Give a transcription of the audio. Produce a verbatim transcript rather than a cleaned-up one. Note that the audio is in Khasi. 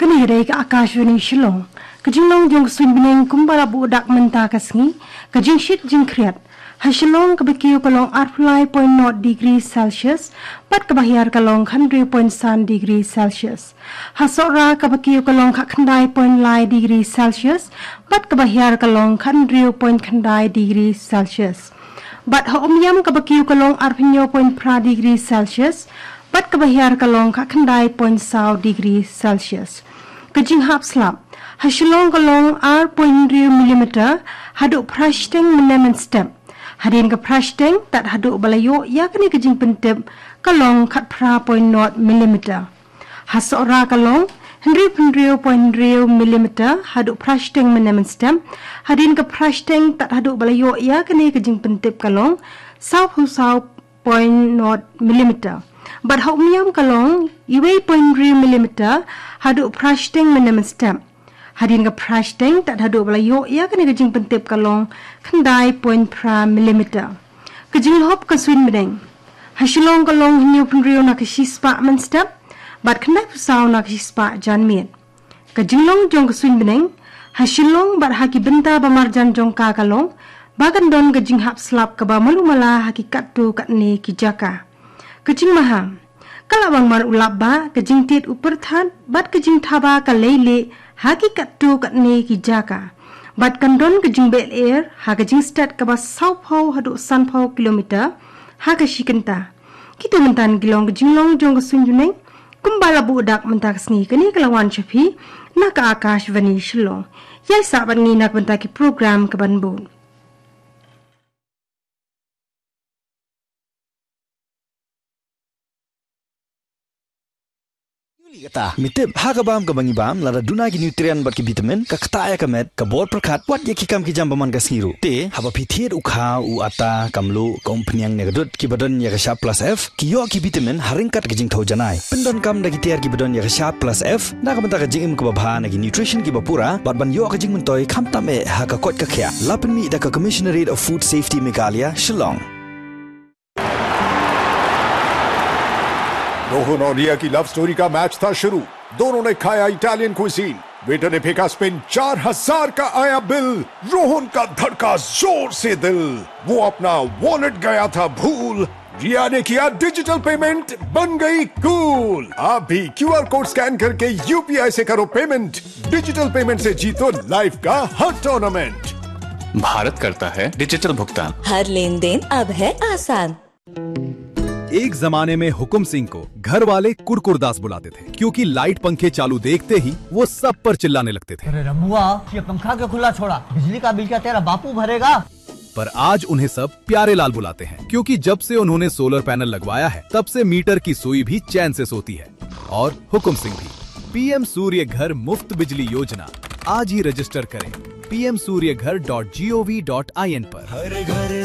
Kane ka dei ka Akashvani Shillong. Ka jinglong jong ka suiñ bneng kumba la buh dak mynta ka sngi. Ka jingshit jingkhriat ha Shillong kaba kiew ka long arphew lai point nod degree Celsius bad kaba hiar ka long khathynriew point san degree Celsius. Ha Sohra kaba kiew ka long khatkhyndai point lai degree Celsius bad kaba hiar ka long khathynriew point khyndai degree Celsius. Bad ha Umiam kaba kiew ka long arphew hynñiew point phra degree Celsius bad kaba hiar ka long khatkhyndai point saw degree Celsius. Ka jinghap slap ha Shillong ka long ar point hynriew millimeter haduh phra shiteng mynne mynstep. Hadien ka phra shiteng tad haduh ba la ïoh ïa kane ka jingpyntip ka long khatphra point nod millimeter. Ha Sohra ka long hynriew hynriew point hynriew millimeter haduh phra shiteng mynne mynstep. Hadien ka phra shiteng tad haduh ba la ïoh ïa kane ka jingpyntip ka long sawphew saw point nod millimeter. Bad ha Umiam ka long uwei point hynriew millimeter haduh phra shiteng mynne mynstep. Hadien ka phra shiteng tad haduh ba la ïoh ïa kane ka jingpyntip ka long khyndai point phra millimeter. Ka jinglhop ka suiñ bneng ha Shillong ka long hynñiew phew hynriew na ka shispah mynstep bad khyndai phew saw na ka shispah janmiet. Ka jinglong jong ka suiñ bneng ha Shillong bad ha ki bynta ba marjan jong ka ka long ba kan don ka jinghap slap kaba malu mala ha ki katto katne ki jaka. Ka jingmaham ka la bang man u lap ba ka jingtied u pyrthat bad ka jingthaba ka lei leh ha ki katto katne ki jaka. Bad kan don ka jingbeh lyer ha ka jingstet kaba sawphew haduh sanphew kilometer ha ka shi kynta. Kito mynta ki long ka jinglong jong ka suiñ bneng kumba la buh dak mynta ka sngi. Kane ka la wan sha phi na ka Akashvani Shillong. Ïai sah bad ngi na ka bynta ki program ka ban bud. Uli kata, mi tip ha ka bam kaba ngi bam, lada duna ki nutrient bad ki vitamin, ka ktah ïa ka met, ka bor pyrkhat, wat ïa ki kam ki jam ba man ka sngi ruh. Te haba phi thied u kha, u atta, ka mluh, ka umphniang ne ka dud kiba don ïa ka shap plus F ki ïoh ki vitamin ha ryngkat ka jingthew janai. Pyndonkam da ki tiar kiba don ïa ka shap plus F na ka bynta ka jingim kaba bha na ki nutrition kiba pura bad ban ïoh ka jingmyntoi khamtam eh ha ka koit ka khiah. La pynmih da ka Commissionerate of Food Safety Meghalaya, Shillong. रोहन और रिया की लव स्टोरी का मैच था शुरू। दोनों ने खाया इटालियन क्विजीन। वेटर ने फेंका स्पिन, चार हजार का आया बिल। रोहन का धड़का जोर से दिल, वो अपना वॉलेट गया था भूल। रिया ने किया डिजिटल पेमेंट, बन गई कूल। आप भी क्यूआर कोड स्कैन करके यूपीआई से करो पेमेंट। डिजिटल पेमेंट से जीतो लाइफ का हर टूर्नामेंट। भारत करता है डिजिटल भुगतान। हर लेन देन अब है आसान। एक जमाने में हुकुम सिंह को घर वाले कुरकुरदास बुलाते थे, क्योंकि लाइट पंखे चालू देखते ही वो सब पर चिल्लाने लगते थे। अरे रमुआ, ये पंखा क्यों खुला छोड़ा? बिजली का बिल क्या तेरा बापू भरेगा? पर आज उन्हें सब प्यारे लाल बुलाते हैं, क्योंकि जब से उन्होंने सोलर पैनल लगवाया है, तब से मीटर की सुई भी चैन से सोती है। और हुकुम सिंह भी। पीएम सूर्य घर मुफ्त बिजली योजना, आज ही रजिस्टर करें पीएम सूर्य घर डॉट जीओवी डॉट आईएन पर। हर घर